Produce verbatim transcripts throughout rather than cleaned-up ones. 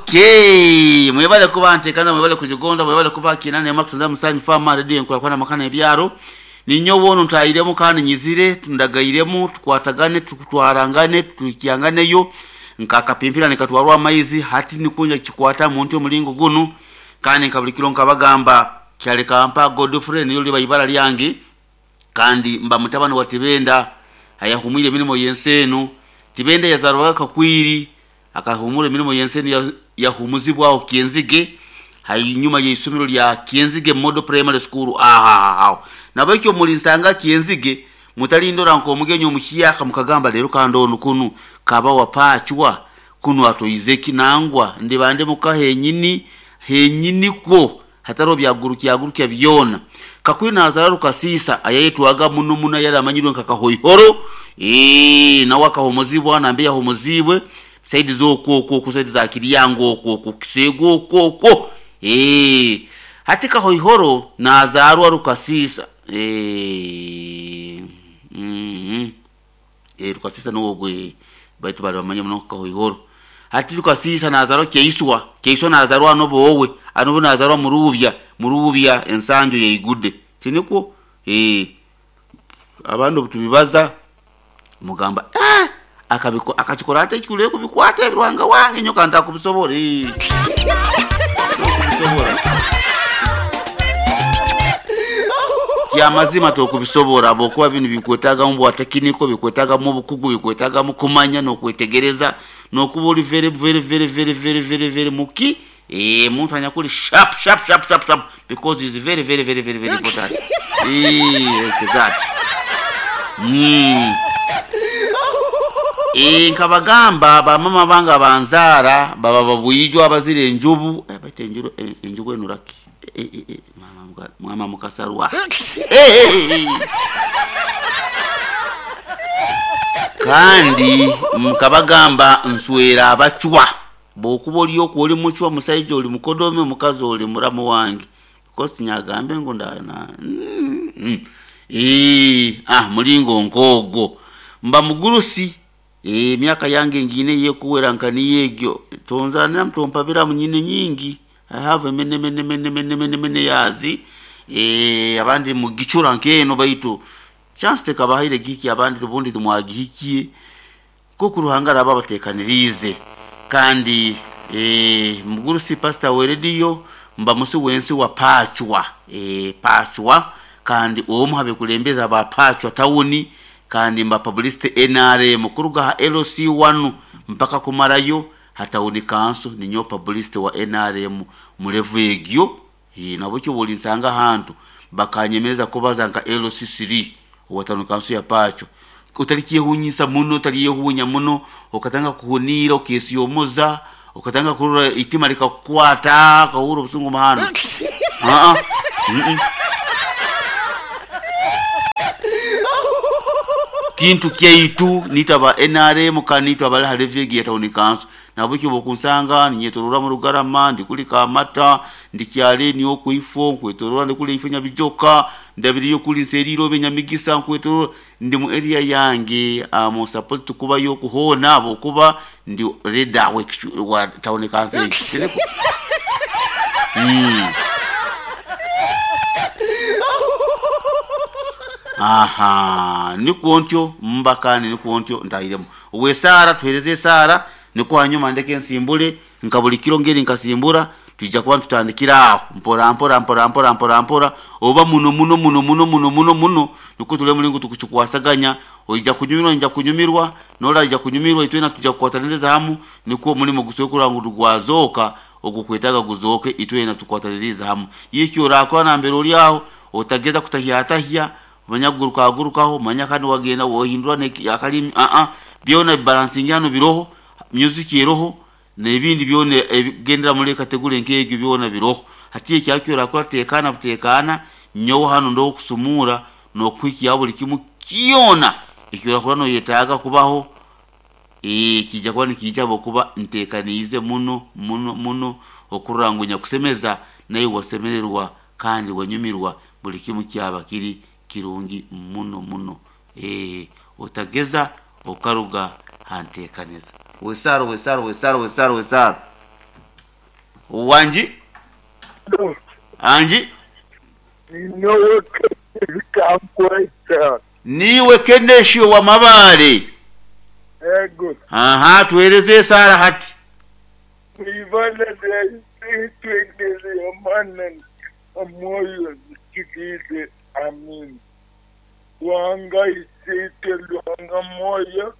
Okay, mwebale kuba ntekana, mwebale kuzigonza, mwebale kuba kinane makutunza musanyi fama radio enkulakwana makana ebyaro. Ninyo wono ntayiremu kandi nyizire tundagairemu tukwatagane tukutwarangane tukiyanganeyo nkakapimpira nikatwarwa amaizi hati nikunja kikwata muntu omulingo gunu. Kandi nkabulikiro nkabagamba kyaleka mpa Godfrey niyo liba ibara lyange, kandi mba mutabani wa Tibenda ayahumwire emirimo y'ensenu. Tibenda yazarwaga Kakwiri, akahumura emirimo y'ensenu, yahumuzibwaho Kyenzige hainyuma y'isomero lya Kyenzige Model Primary School. Aha nabo ekyo mulinsanga Kyenzige, mutalindora nkomugenyi omuhiyaka mukagamba lero kandi onu kunu kaba wapachwa kunu atoize kinangwa ndibande mukahenyini henyini kwo hataro byagurukia byona. Kakwiri nazara Rukasisa ayayetwaga muno muno yari amanyirwe nka Kahoihoro, eh nawe akahomozibwa nambe yahomozibwe saidi zokwo okwo ku saidi za Kiryango okwo okwo Kisego okwo okwo. Eh hati Kahoihoro nazarwa Rukasisa, eh mm eh Rukasisa nuwo gwe baitu bari bamanye muno Kahoihoro. Hati Rukasisa nazarwa Keiswa, Keiswa nazarwa nobowe anobo nazarwa Murubya, Murubya ensanjo yeigude tiniko. Eh abantu tubibaza mugamba eh akabiko akachikora ate kikule kubikwata ebirwanga wange nyoka ntakubisobora, eh kubisobora ya mazima tokubisobora bokuba bintu bikwetaga mu bwatekiniko, bikwetaga mu bukugu, bikwetaga mu kumanya no kwetegereza no kuba uri very very very very very very very muki. Eh muntu anyakuri sharp sharp sharp sharp sharp because is very very very very very important. Eh exact mm eh nkabagamba bamama banga banzara baba babuyijwa abazire enjubu, eh baite enjuru enjubu enuraki, eh eh eh mama mama mukasarwa, eh eh kandi mkabagamba nswera abachwa bokuba oli okwo oli muchwa musaija oli mukodome mukazi oli muramu wange because nyagambe ngo ndana mm, mm. Eh ah mulingo nkogo mba mugurusi, eh myaka yange ngine yekuwera nkani yegyo tonzanira mtompabira munyine nyingi. I have many many many many many many yazi, eh abandi mugichura nkeno baitu chance tekabahire giki abandi tubundi tumwagihikiye ko kuruhangara babatekanirize. Kandi eh mugurusi pastor we radio mba musi wensi wa Pachwa, eh Pachwa kandi omu habe kulembeza ba Pachwa tawuni, kandi mba publicity N R M kuruga L C one mpaka kumarayo hatawuni kanso ninyo publicity wa N R M mulevu egyo. Eh nabo cyo bolinsanga hantu bakanyemereza kubaza nka L C three watano kanso ya Pachwa. Utalikiye hunyisa muno utaliye hunya muno ukatanga kuhunira ukesiyomoza ukatanga kurura itima likakwata kahuru busungu mahano. Ah ah mm -mm. Kintu kyaitu nitaba N R M kanitwa abali halevye ya town council nabukyo bokunsanga ninyetorora mu Rugarama ndikulika amata ndikyale niyo kuifo nkwetorora ndikuli ifenya bijoka ndabiriyo kuli nseriro benyamigisa nkwetorora ndi mu area yange am supposed to kuba yo kuhona bokuba ndi leader wa town council. Mm. Aha, nikuontyo mbakani nikuontyo ndairemo wesara tuhereze sara niko hanyuma ndeke nsimbule nkabulikiro ngeri nkasimbura tujja kuba tutandikira aho mpora mpora mpora mpora mpora mpora oba muno muno muno muno muno muno muno niko tule mulingo tukuchikwasaganya oija kunyumirwa nja kunyumirwa nola ija kunyumirwa itwena tujja kukwataniriza hamu niko mulimo gusokura ngu gwazoka ogukwetaga guzoke itwena tukwataniriza hamu yikyo rakwa na mbere uri aho otageza kutahya tahya manyaguruka gurukaho manya kandi wagenda wohindura akalimi a a byona balancing hano biroho music yeroho nebindi byone gendera muri kategori nk'egyo byona biroho hatiye cyakyo rakora tekana butekana nyowo hano ndo kusumura no kwikiya buli kimu kiyona ikyo rakora no yetaga kubaho eh kijja kuba nikijja bokuba ntekanize muno muno muno okurangunya kusemeza naye wasemererwa kandi wanyumirwa buli kimu kyaba kiri kirungi muno muno eh otageza okaruga hantekaniza wesaro wesaro wesaro wesaro wesaro. Wanji anji Ninyowe kankweta. Niwe Kenesio wa Mabale. Ego. Aha, tueleze sara hati. Ibala lyaife omwana omwoyo zikirize amin. Lwanga isite lwanga mwoyo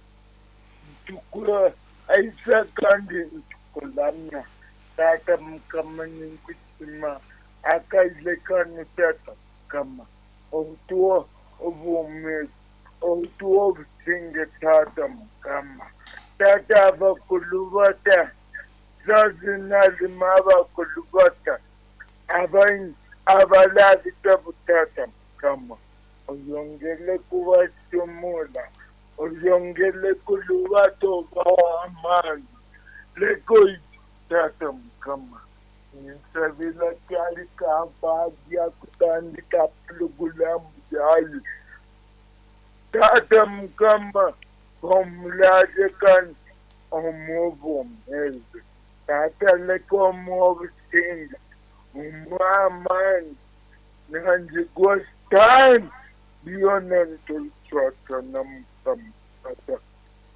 ntukura aisa kandi ntukulamya tata mukama ninkusima akailekano tata mukama obutuwa obwomezi obutuwa obusinge tata mukama tata abakulu bata zazinalima abakulu bata abain abalabita butata mukama oyongele kubatumula oyongele kulubato bawaamani lekoitata mukama ninsabila kyali kabaadya kutandika pulogulamu yayi tata mukama omulaje kandi omuobomezi tata leka omuobusinga omwamani nanjigwa time byona ntulicwatana mukama tata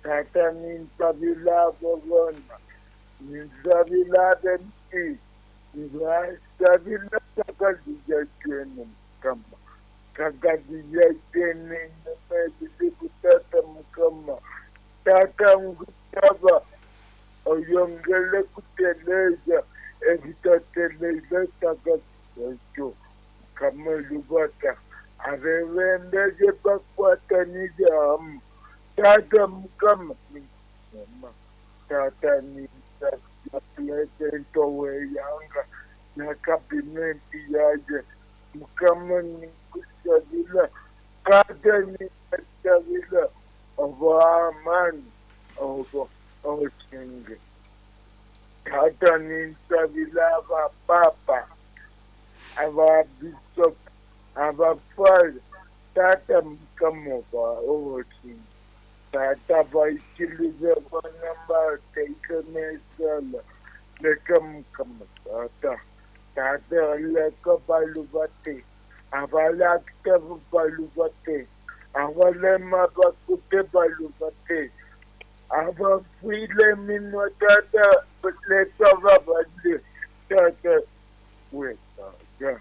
tata ninsabila abo bona ninsabila abempi nibasabila takazijatwene mukama takazijatwene nemebisiku tata mukama tata nkusaba oyongele kuteleza ebitateleza takazijatwo mukama lubata abebembeze bakwatanize hamu tata mukama mukama tata nipulezidenti weyanga na kabineti yaje mukama nikusabila tata nikusabila oba amani oba osinge tata ninsabila abapapa ababisop abafazi tata mukama oba osinge tata baikirize bana bateekemesala leka mukama tata tata leka balubate abalakita balubate abalema bakute balubate abafiile minwa tata leka babadde tata we tata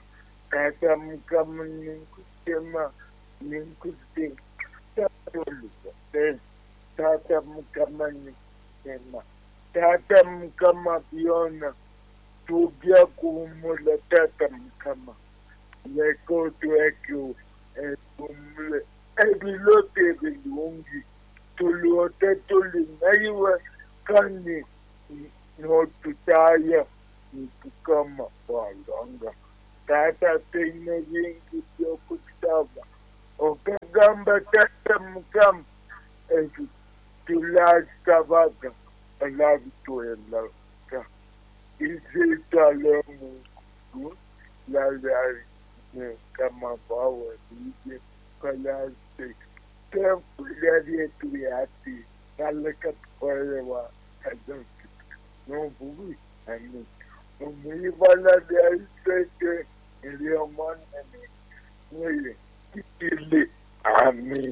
tata mukama ninkusema ninkusema tata olubate tata mukama ninkusema tata mukama byona tubya kuhumula tata mukama leka otwekyo ehumule ebilote ebirungi tulwote tulinaiwe kandi notutaya mukama walanga tata teine bingi byokusaba okagamba tata mukama ekyo tulasabaga olabitwelaka izitalemungu lalalikamabawalije kalase tempulyalyetu kalekatkolewa kazoki nobubi ani omwibala lyaisete elyomanene mweye kitili amin.